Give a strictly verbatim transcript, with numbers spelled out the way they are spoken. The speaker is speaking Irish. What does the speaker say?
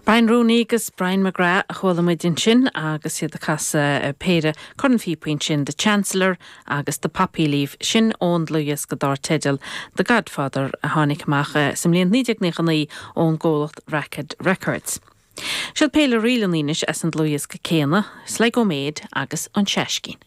Brian Rooney agus Brian McGrath a chuala muid ansin agus iad ag casadh péire cornphíopaí ansin The Chancellor agus The Poppy Leaf sin ón dlúthdhiosca dar teideal The Godfather a tháinig amach sa mbliain naoi déag nócha naoi ón gcomhlacht Racket Records. Siod péire ríleanna anois as an dlúthdhiosca céanna, Sligo Maid agus an Seiscín.